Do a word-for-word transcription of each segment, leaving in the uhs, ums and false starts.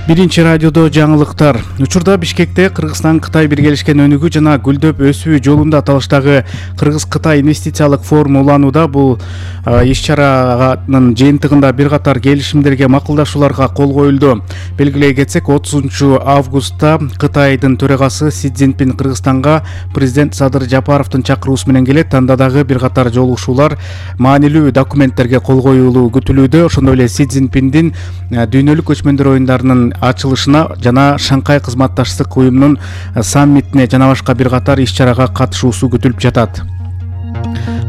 Биринчи радиодо жаңылыктар. Учурда Бишкекте Кыргызстан Кытай биргелешкен өнүгүү жана гүлдөп өсүү жолунда аталыштагы Кыргыз-Кытай инвестициялык форум уланууда. Бул иш-чаранын жыйынтыгында бир катар келишимдерге, макулдашууларга кол коюлду. Белгилей кетсек, отузунчу августта Кытайдын төрагасы Си Цзиньпин Кыргызстанга президент Садыр Жапаровдун чакыруусу менен келет. Анда дагы бир катар жолугушуулар, маанилүү документтерге кол коюлуу күтүлүүдө. Ошондой эле Си Цзиньпиндин дүйнөлүк көчмөндөр оюндарынын ачылышына жана Шанхай кызматташтык уюмунун саммитине жана башка бир катар иш-чарага катышуусу күтүлүп жатат.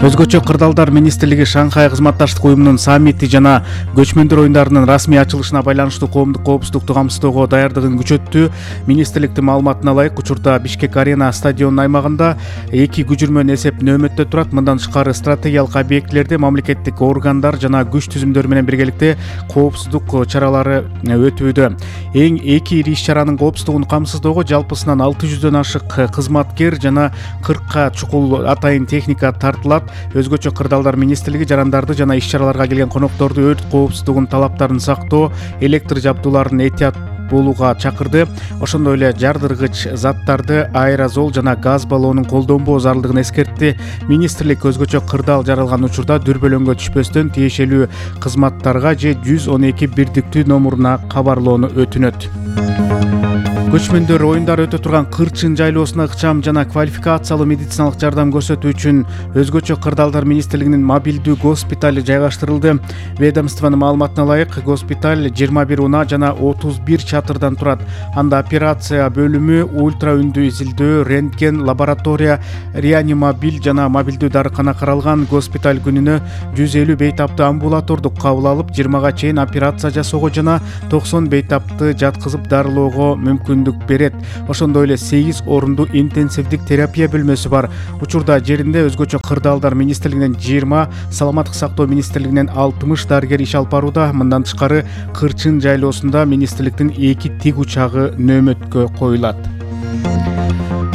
Өзгөчө кырдаалдар министрлиги Шанхай кызматташтык уюмунун саммити жана көчмөндөр оюндарынын расмий ачылышына байланыштуу коомдук коопсуздукту камсыздоого даярдыгын күчөттү. Министрликтин маалыматына ылайык, учурда Бишкек Арена стадионунун аймагында эки күчүрмөн эсеп нөөмөттө турат. Мындан тышкары стратегиялык объектилерде мамлекеттик органдар жана күч түзүмдөрү менен биргеликте коопсуздук чаралары өтүүдө. Эң эки ири иш-чаранын коопсуздугун камсыздоого жалпысынан алты жүздөн ашык кызматкер жана кыркка чукул атайын техника тартылат. Өзгөчө кырдаалдар министрлиги жарандарды жана иш-чараларга келген конокторду өрт коопсуздугунун талаптарын сактоо, электр жабдууларын этият болууга чакырды. Ошондой эле жардыргыч заттарды, аэрозол жана газ баллонун колдонбоо зарылдыгын эскертти. Министрлик өзгөчө кырдаал жаралган учурда дүрбөлөңгө түшпөстөн тиешелүү кызматтарга же жүз он эки бирдиктүү номуруна кабарлоону өтүнөт. Көчмөндөр оюндары өтө турган Кырчын жайлоосуна ыкчам жана квалификациялуу медициналык жардам көрсөтүү үчүн өзгөчө кырдаалдар министрлигинин мобилдүү госпитали жайгаштырылды. Ведомствонун маалыматына ылайык, госпиталь жыйырма бир унаа жана отуз бир чатырдан турат. Анда операция бөлүмү, ультра үндүү изилдөө, рентген, лаборатория, реанимобиль жана мобилдүү дарыкана каралган. Госпиталь күнүнө жүз элүү бейтапты амбулатордук кабыл алып, жыйырмага чейин операция жасоого жана токсон бейтапты жаткызып дарылоого мүмкүн берет. Ошондой эле сегиз орунду интенсивдик терапия бөлмөсү бар. Учурда жеринде өзгөчө кырдаалдар министрлигинен жыйырма, саламаттык сактоо министрлигинен алтымыш дарыгер иш алып барууда. Мындан тышкары Кырчын жайлоосунда министрликтин эки тик учагы нөөмөткө коюлат.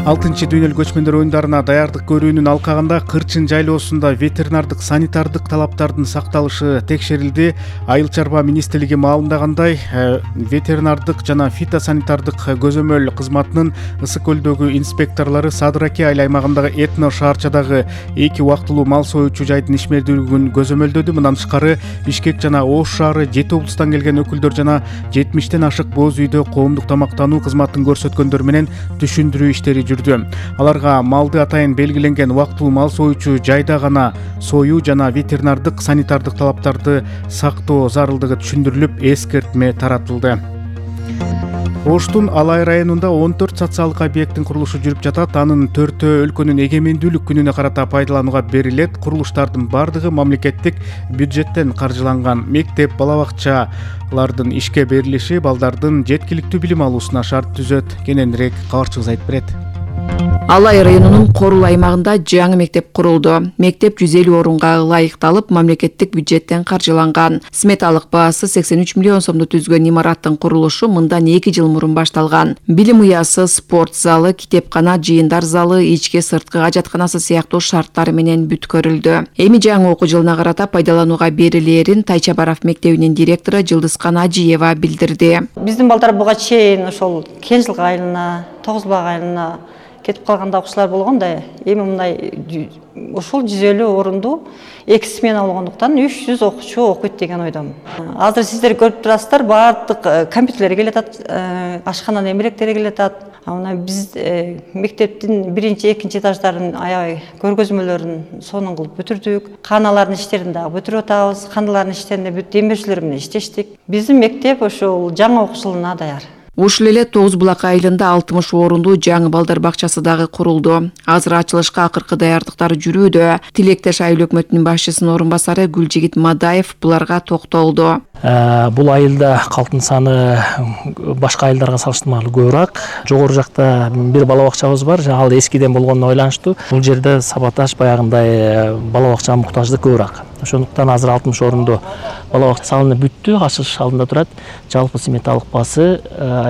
алтынчы дүйнөлүк көчмөндөр оюндарына даярдык көрүүнүн алкагында Кырчын жайлоосунда ветеринардык санитардык талаптардын сакталышы текшерилди. Айыл чарба министрлиги маалымдагандай, ветеринардык жана фитосанитардык көзөмөл кызматынын Ысык көлдөгү инспекторлору Садыр Аке айыл аймагындагы Этно шаарчадагы эки убактылуу мал союучу жайдын ишмердүүлүгүн көзөмөлдөдү. Мындан тышкары Бишкек жана Ош шаары, жети облустан келген өкүлдөр жана жетимиштен ашык боз үйдө коомдук тамактануу кызматын көрсөткөндөр менен түшүндүрүү иштери жүрдү. Аларга малды атайын белгиленген убактылуу мал союучу жайда гана союу жана ветеринардык санитардык талаптарды сактоо зарылдыгы түшүндүрүлүп, эскертме таратылды. Оштун Алай районунда он төрт социалдык объекттин курулушу жүрүп жатат. Анын төртөө өлкөнүн эгемендүүлүк күнүнө карата пайдаланууга берилет. Курулуштардын бардыгы мамлекеттик бюджеттен каржыланган. Мектеп, бала бакчалардын ишке берилиши балдардын жеткиликтүү билим алуусуна шарт түзөт. Кененирээк кабарчыбыз айтып берет. Алай районунун Корул аймагында жаңы мектеп курулду. Мектеп жүз элүү орунга ылайыкталып, мамлекеттик бюджеттен каржыланган. Сметалык баасы сексен үч миллион сомду түзгөн имараттын курулушу мындан эки жыл мурун башталган. Билим уясы, спорт залы, китепкана, жыйындар залы, ички сырткы ажатканасы сыяктуу шарттар менен бүткөрүлдү. Эми жаңы окуу жылына карата пайдаланууга берилээрин Тайчабаров мектебинин директору Жылдызкан Ажиева билдирди. Биздин балдар буга чейин ошол Кенжилик айылына, Тогузбак айылына кетип калганда окуучулар болгон да, эми мындай ушул жүз элүү орунду эки смена болгондуктан үч жүз окуучу окуйт деген ойдомун. Азыр сиздер көрүп турасыздар, баардык компьютерлер келе атат, ашкананын эмеректери келе атат. Мына биз мектептин биринчи, экинчи этаждарын аябай көргөзмөлөрүн сонун кылып бүтүрдүк. Каналардын иштерин дагы бүтүрүп атабыз. Каналардын иштеринде бүт демеушүлөр менен иштештик. Биздин мектеп ошол жаңы окуу жылына даяр. Ушул эле Тоғыз Булак айылында алтымыш орунду жаңы балдар бакчасы дагы курулду. Азыр ачылышка акыркы даярдыктар жүрүүдө. Тилектеш айыл өкмөтүнүн башчысынын орун басары Гүлжигит Мадаев буларга токтолду. Бул айылда калктын саны башка айылдарга салыштырмалуу көбүрөөк. Жогору жакта бир бала бакчабыз бар, ал эскиден болгонуна байланыштуу. Бул жерде сабаташ баягындай бала бакчага муктаждык көбүрөөк. Ошондуктан азыр алтымыш орунду бала бакча салынып бүттү, ачылыш алдында турат. Жалпы сметалык баасы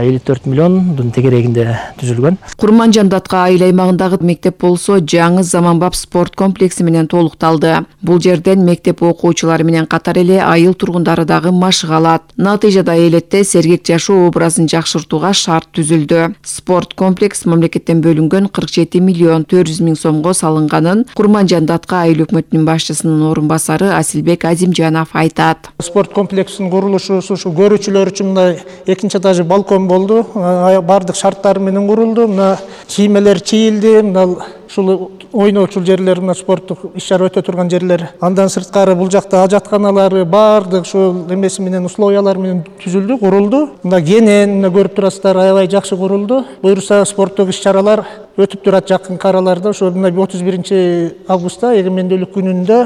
элүү төрт миллиондун тегерегинде түзүлгөн. Курманжандатка айыл аймагындагы мектеп болсо жаңы заманбап спорт комплекси менен толукталды. Бул жерден мектеп окуучулары менен катар эле айыл тургундары дагы машык алат. Натыйжада элетте сергек жашоо образын жакшыртууга шарт түзүлдү. Спорт комплекс мамлекеттен бөлүнгөн кырк жети миллион төрт жүз миң сомго салынганын Курманжандатка айыл өкмөтүнүн башчысынын орун басары Асилбек Азимжанов айтат. Спорт комплексинин курулушу ушу көрүүчүлөр үчүн мындай экинчи этажы балкон болду. Бардык шарттары менен курулду. Мына кийимелер чийилди. Мына ушул ойноочул жерлер, мына спорттук иш-чара өтө турган жерлер. Андан сырткары бул жакта ажатканалары бардык ушул эмеси менен условиялар менен түзүлдү, курулду. Мына кенен көрүп турасыздар, аябай жакшы курулду. Буюрса спорттук иш-чаралар өтүп турат жакынкы араларда. Ошо мына отуз биринчи августта эгемендүүлүк күнүндө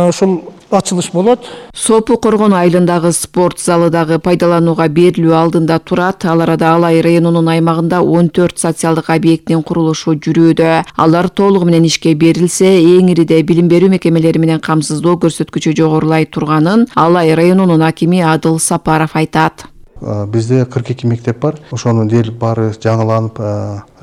ушул ачылыш болот. Сопу Коргон айылындагы спорт залы дагы пайдаланууга берилүү алдында турат. Ал арада Алай районунун аймагында он төрт социалдык объекттин курулушу жүрүүдө. Алар толугу менен ишке берилсе, эң ириде билим берүү мекемелери менен камсыздоо көрсөткүчү жогорулай турганын Алай районунун акими Адыл Сапаров айтат. Бизде кырк эки мектеп бар. Ошонун дээрлик баары жаңыланып,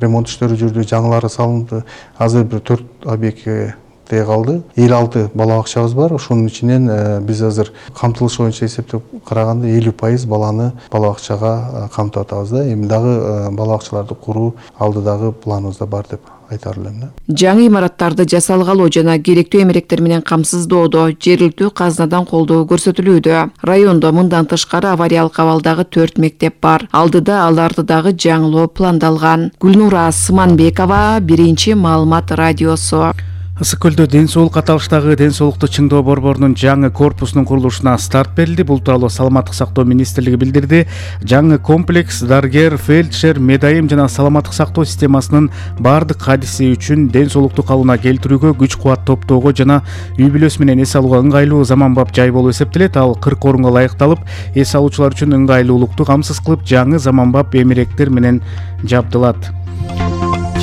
ремонт иштери жүрдү, жаңылары салынды. Азыр бир төрт объектке калды. элүү алты бала бакчабыз бар. Ошонун ичинен биз азыр камтылыш боюнча эсептеп караганда элүү пайыз баланы бала бакчага камтып атабыз да. Эми дагы бала бакчаларды куруу алдыдагы планыбызда бар деп айтар элем. Жаңы имараттарды жасалгалоо жана керектүү эмеректер менен камсыздоодо жергиликтүү казынадан колдоо көрсөтүлүүдө. Райондо мындан тышкары авариялык абалдагы төрт мектеп бар. Алдыда аларды дагы жаңылоо пландалган. Гүлнура Сыманбекова, Биринчи маалымат радиосу. Ысык көлдө ден соолук аталыштагы ден соолукту чыңдоо борборунун жаңы корпусунун курулушуна старт берилди. Бул тууралуу Саламаттык сактоо министрлиги билдирди. Жаңы комплекс дарыгер, фельдшер, медайым жана саламаттык сактоо системасынын бардык кадиси үчүн ден соолукту калыбына келтирүүгө, күч кубат топтоого жана үй бүлөсү менен эс алууга ыңгайлуу заманбап жай болуп эсептелет. Ал кырк орунга ылайыкталып, эс алуучулар үчүн ыңгайлуулукту камсыз кылып, жаңы заманбап эмеректер менен жабдылат.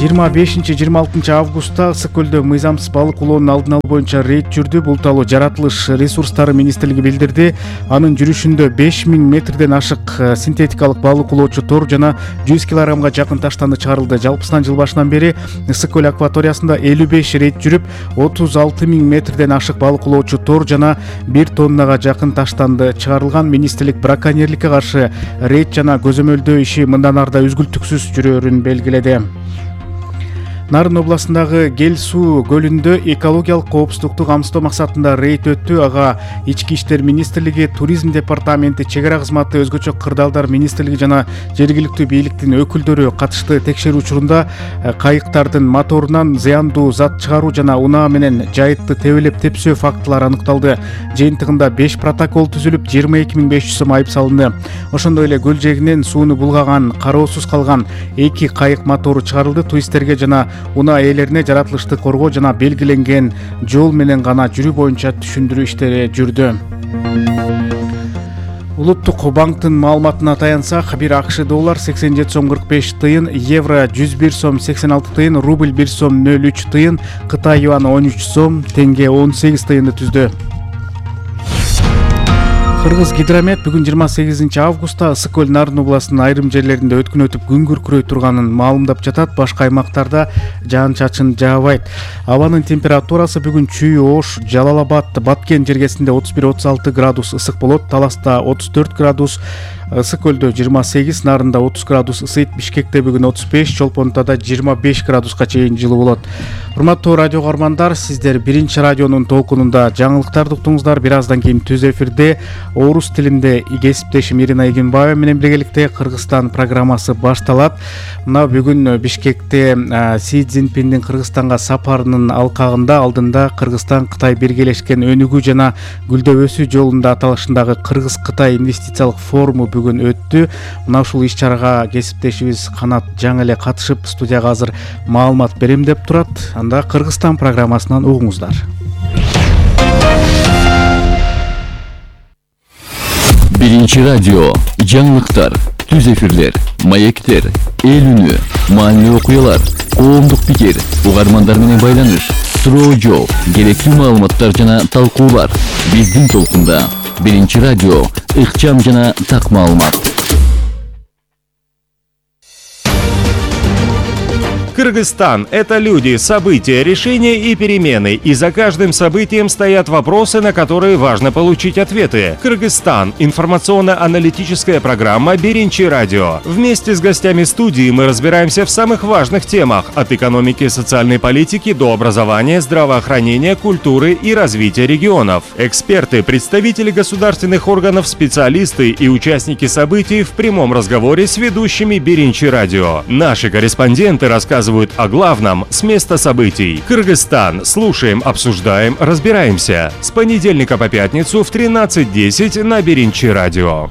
жыйырма бешинчи жыйырма алтынчы августта Ысык көлдө мыйзамсыз балык улоонун алдын алуу боюнча рейд жүрдү. Бул тууралуу Жаратылыш ресурстары министрлиги билдирди. Анын жүрүшүндө беш миң метрден ашык синтетикалык балык улоочу тор жана жүз килограммга жакын таштанды чыгарылды. Жалпысынан жыл башынан бери Ысык көл акваториясында элүү беш рейд жүрүп, отуз алты миң метрден ашык балык улоочу тор жана бир тоннага жакын таштанды чыгарылган. Министрлик браконьерликке каршы рейд жана көзөмөлдөө иши мындан арда үзгүлтүксүз жүрөөрүн белгиледи. Нарын областындагы Гел суу көлүндө экологиялык коопсуздукту камсыздоо максатында рейд өттү. Ага Ички иштер министрлиги, туризм департаменти, чек ара кызматы, өзгөчө кырдаалдар министрлиги жана жергиликтүү бийликтин өкүлдөрү катышты. Текшерүү учурунда кайыктардын моторунан зыяндуу зат чыгаруу жана унаа менен жайытты тебелеп тепсөө фактылары аныкталды. Жыйынтыгында беш протокол түзүлүп, жыйырма эки миң беш жүз сом айып салынды. Ошондой эле көл жээгинен сууну булгаган, кароосуз калган эки кайык мотору чыгарылды. Туристтерге жана унаа ээлерине жаратылышты коргоо жана белгиленген жол менен гана жүрүү боюнча түшүндүрүү иштери жүрдү. Улуттук банктын маалыматына таянсак, бир АКШ доллар сексен жети сом кырк беш тыйын, евро жүз бир сом сексен алты тыйын, рубль бир сом нөл үч тыйын, Кытай юаны он үч сом, тенге он сегиз тыйынды түздү. Кыргыз гидромет бүгүн жыйырма сегизинчи августта Ысык көл Нарын областынын айрым жерлеринде өткүн өтүп күн күркүрөй турганын маалымдап жатат. Башка аймактарда жаан-чачын жаабайт. Абанын температурасы бүгүн Чүй, Ош, Жалал Абад, Баткен жергесинде отуз бир отуз алты градус ысык болот. Таласта отуз төрт градус, Ысык көлдө жыйырма сегиз, Нарында отуз градус ысыйт. Бишкекте бүгүн отуз беш, Чолпонтада жыйырма беш градуска чейин жылуу болот. Урматтуу радио каармандар, сиздер Биринчи радионун толкунунда жаңылыктарды уктуңуздар. Бир аздан кийин түз эфирде орус тилинде кесиптешим Ирина Эгенбаева менен биргеликте Кыргызстан программасы башталат. Мына бүгүн Бишкекте Си Цзиньпиндин Кыргызстанга сапарынын алкагында алдында Кыргызстан Кытай биргелешкен өнүгүү жана гүлдөп өсүү жолунда аталышындагы Кыргыз-Кытай инвестициялык форуму бүгүн өттү. Мына ушул иш-чарага кесиптешибиз Канат жаңы эле катышып, студияга азыр маалымат берем деп турат. Анда Кыргызстан программасынан угуңуздар. Биринчи радио, жаңылыктар, түз эфирлер, маектер, эл үнү, маанилүү окуялар, коомдук пикир, угармандар менен байланыш, суроо жооп, керектүү маалыматтар жана талкуулар. Биздин толкунда Биринчи радио, ыкчам жана так маалымат. Кыргызстан – это люди, события, решения и перемены. И за каждым событием стоят вопросы, на которые важно получить ответы. Кыргызстан – информационно-аналитическая программа «Биринчи радио». Вместе с гостями студии мы разбираемся в самых важных темах – от экономики и социальной политики до образования, здравоохранения, культуры и развития регионов. Эксперты, представители государственных органов, специалисты и участники событий в прямом разговоре с ведущими «Биринчи радио». Наши корреспонденты рассказывают о главном с места событий. Кыргызстан. Слушаем, обсуждаем, разбираемся. С понедельника по пятницу в тринадцать десять на Биринчи радио.